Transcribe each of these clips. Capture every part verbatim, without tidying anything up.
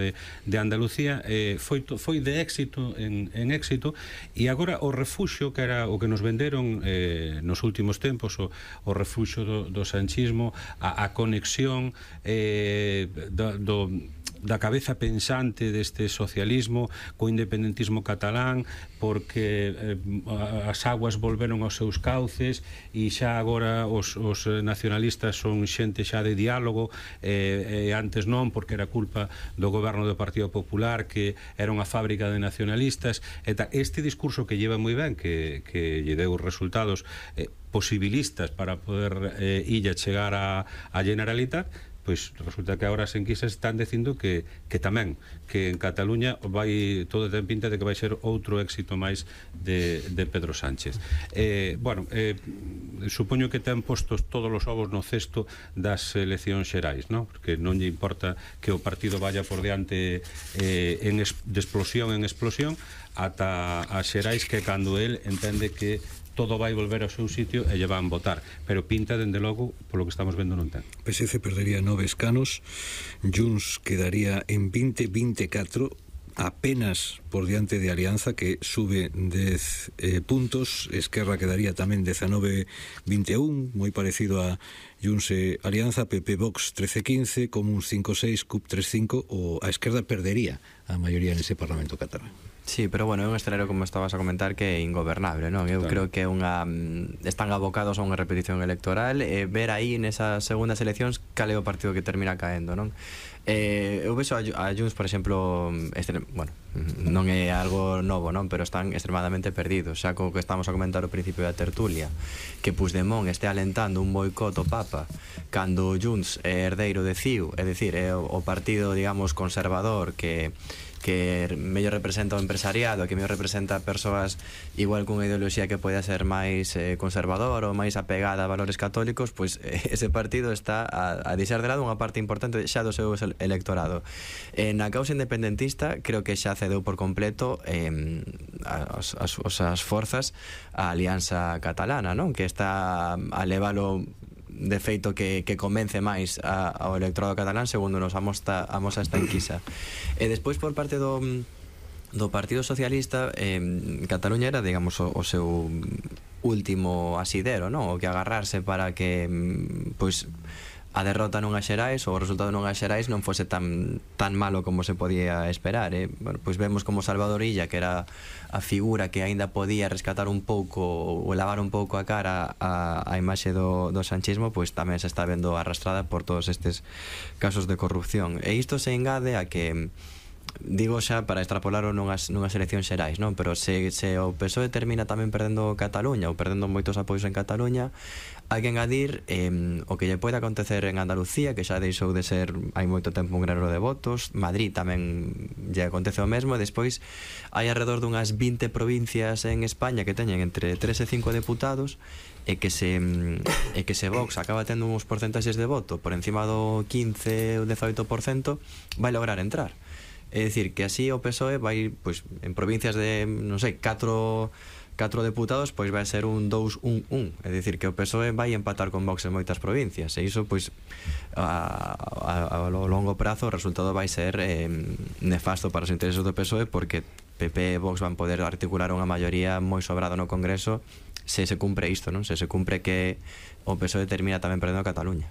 de, de Andalucía, eh, foi, foi de éxito en, en éxito, e agora o refuxo que era o que nos venderon eh, nos últimos tempos, o, o refuxo do, do sanchismo, a, a conexión eh, do, do da cabeza pensante deste socialismo co independentismo catalán, porque eh, as aguas volveron aos seus cauces e xa agora os, os nacionalistas son xente xa de diálogo, eh, eh, antes non, porque era culpa do goberno do Partido Popular, que era unha fábrica de nacionalistas. E ta, este discurso que lleva moi ben, que, que lle deu resultados eh, posibilistas para poder eh, illa chegar a, a Generalitat, pois resulta que agora as enquisas están dicindo que, que tamén, que en Cataluña vai, todo ten pinta de que vai ser outro éxito máis de, de Pedro Sánchez. Eh, bueno, eh, supoño que ten postos todos os ovos no cesto das eleccións xerais, non? Porque non lle importa que o partido vaya por diante eh, en es, de explosión en explosión ata as xerais, que cando el entende que todo vai volver ao seu sitio e lle van votar, pero pinta, dende logo, polo que estamos vendo, non ten. P S C perdería nove escanos, Junts quedaría en veinte veinticuatro, apenas por diante de Alianza, que sube dez eh, puntos. Esquerra quedaría tamén diecinueve veintiuno, moi parecido a Junts e Alianza. P P Vox trece quince, Comuns cinco seis, C U P tres cinco, ou a esquerda perdería a maioría nese Parlamento catalán. Sí, pero bueno, é un escenario, como estabas a comentar, que é ingobernable, non? Eu claro. creo que é unha están abocados a unha repetición electoral, e ver aí nesas segundas eleccións cal é o partido que termina caendo, non? Eh, eu vexo a, a Junts, por exemplo, este, bueno, non é algo novo, non? Pero están extremadamente perdidos, xa co que estamos a comentar ao principio da tertulia, que Puigdemont este alentando un boicot ao Papa cando Junts é herdeiro de C I U, é dicir, é o, o partido, digamos, conservador que que mellor representa o empresariado, que mellor representa persoas igual cunha ideoloxía que poida ser máis eh, conservador ou máis apegada a valores católicos, pois eh, ese partido está a, a deixar de lado unha parte importante xa do seu electorado. Eh, na causa independentista creo que xa cedeu por completo eh, as, as, as forzas a Alianza Catalana, non? Que está a leválo de feito que, que convence máis a, ao electorado catalán, segundo nos amosta, amosa esta enquisa. E despois, por parte do do Partido Socialista, eh, Cataluña era, digamos, o, o seu último asidero, non? O que agarrarse para que pois a derrota non a xerais, ou o resultado non a xerais non fose tan tan malo como se podía esperar, eh? Bueno, pois vemos como Salvador Illa, que era a figura que aínda podía rescatar un pouco ou lavar un pouco a cara a, a imaxe do, do sanchismo, pois tamén se está vendo arrastrada por todos estes casos de corrupción. E isto se engade a que, digo xa para extrapolarlo nunhas, nunhas eleccións xerais, non? Pero se, se o P S O E termina tamén perdendo Cataluña ou perdendo moitos apoios en Cataluña, hai que engadir eh, o que lle pode acontecer en Andalucía, que xa deixou de ser hai moito tempo un granero de votos. Madrid tamén lle acontece o mesmo. E despois hai alrededor dunhas vinte provincias en España que teñen entre tres e cinco deputados, e que se e que se Vox acaba tendo uns porcentaxes de voto por encima do quince ou dezaoito por cento, vai lograr entrar. É dicir, que así o P S O E vai, pois, en provincias de, non sei, catro catro deputados, pois vai ser un dous un un. É dicir, que o P S O E vai empatar con Vox en moitas provincias, e iso, pois, a, a, a longo prazo o resultado vai ser eh, nefasto para os intereses do P S O E, porque P P e Vox van poder articular unha maioría moi sobrada no Congreso se se cumpre isto, non? Se se cumpre que o P S O E termina tamén perdendo a Cataluña.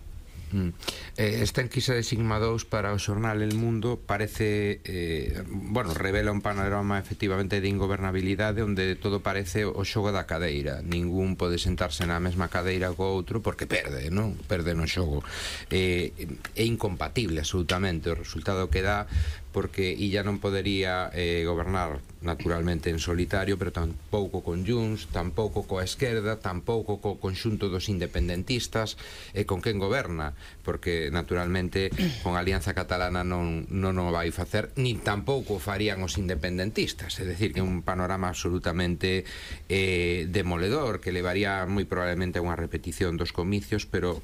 Mm. Eh, esta enquisa de Sigma dous para o xornal El Mundo parece, eh, bueno, revela un panorama efectivamente de ingobernabilidade, onde todo parece o xogo da cadeira. Ningún pode sentarse na mesma cadeira co outro porque perde, non? Perde no xogo. Eh, é incompatible absolutamente o resultado que dá, porque Illa non podería eh, gobernar naturalmente en solitario, pero tampouco con Junts, tampouco coa esquerda, tampouco co conxunto dos independentistas, e con quen goberna, porque naturalmente con a Alianza Catalana non, non o vai facer, nin tampouco farían os independentistas. É dicir, que é un panorama absolutamente eh, demoledor, que levaría moi probablemente a unha repetición dos comicios, pero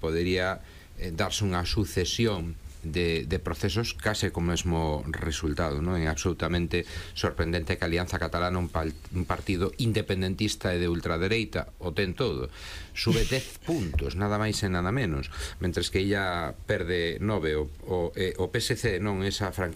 podería eh, darse unha sucesión De, de procesos case co mesmo resultado, non? É absolutamente sorprendente que a Alianza Catalana, un, pal, un partido independentista e de ultradereita, o ten todo, sube dez puntos, nada máis e nada menos, mentres que ella perde nove. O, o, eh, o P S C, non, esa